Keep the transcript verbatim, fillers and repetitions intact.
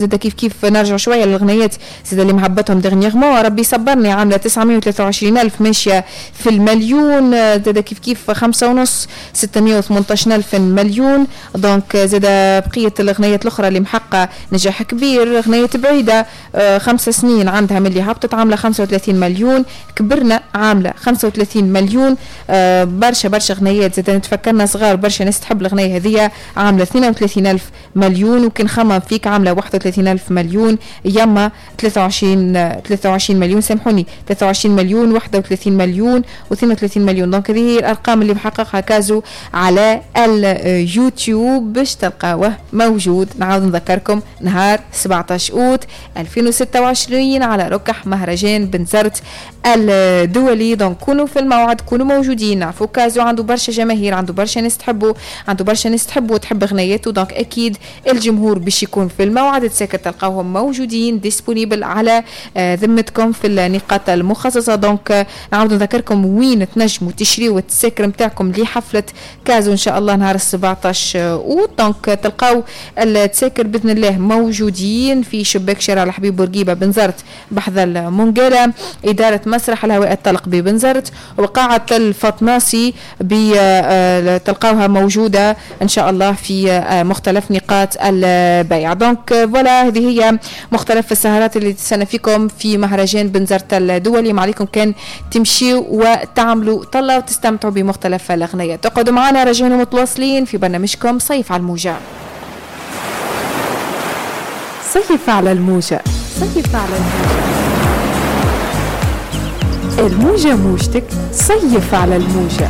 زاد كيف كيف نرجع شوية للغنيات زاد اللي مهبطهم dernièrement، ربي صبرني عامله تسعمية وثلاثة وعشرين الف ماشية في المليون، زاد كيف كيف خمسة ونص ستمية وثمنطاش الف مليون. donc زاد بقية الغنيات الاخرى اللي محققة نجاح كبير، غنية بعيدة خمس سنين عندها من اللي هبطت عامله خمسة وثلاثين مليون، كبرنا عامله خمسة وثلاثين مليون. برشا برشا غنيات زاد نتفكرنا صغار برشا ناس تحب الغنية هذيا عامله اثنين وثلاثين الف مليون، وكي نخمم فيك عامله واحد وثلاثين ألف مليون، يما ثلاثة وعشرين ثلاثة وعشرين مليون، سامحوني ثلاثة وعشرين مليون، واحد وثلاثين مليون واثنين وثلاثين مليون. donc هذه هي الأرقام اللي محققها كازو على اليوتيوب باش تلقاوه موجود. نعاود نذكركم نهار سبعطاش أوت ألفين وستة وعشرين على ركح مهرجان بنزرت الدولي. donc كونوا في الموعد، كونوا موجودين. نعرفوا كازو عنده برشا جماهير، عنده برشا ناس تحبه، عنده برشا ناس تحبه وتحب غنياته، donc أكيد الجمهور باش يكون في الموعد. تساكر تلقاوهم موجودين disponibles على ذمتكم في النقاط المخصصة. donc نعاود نذكركم وين تنجموا تشريوا التساكر نتاعكم لحفلة كازو إن شاء الله نهار سبعطاش أوت. donc تلقاو التساكر بإذن الله موجودين في شباك شارع الحبيب بورقيبة بنزرت بحذا المنقالة، إدارة مسرح الهواء الطلق ببنزرت، وقاعة الفطناسي تلقاوها موجودة إن شاء الله في مختلف نقاط البيع. donc voilà هذه هي مختلف السهرات اللي تستنى فيكم في مهرجان بنزرت الدولي. ما عليكم كان تمشيوا وتعملوا طلة وتستمتعوا بمختلف الأغنيات. تقعدوا معنا راجعين ومتواصلين في برنامجكم صيف على الموجة. صيف على الموجة، صيف على الموجة، الموجة موجتك، صيف على الموجة.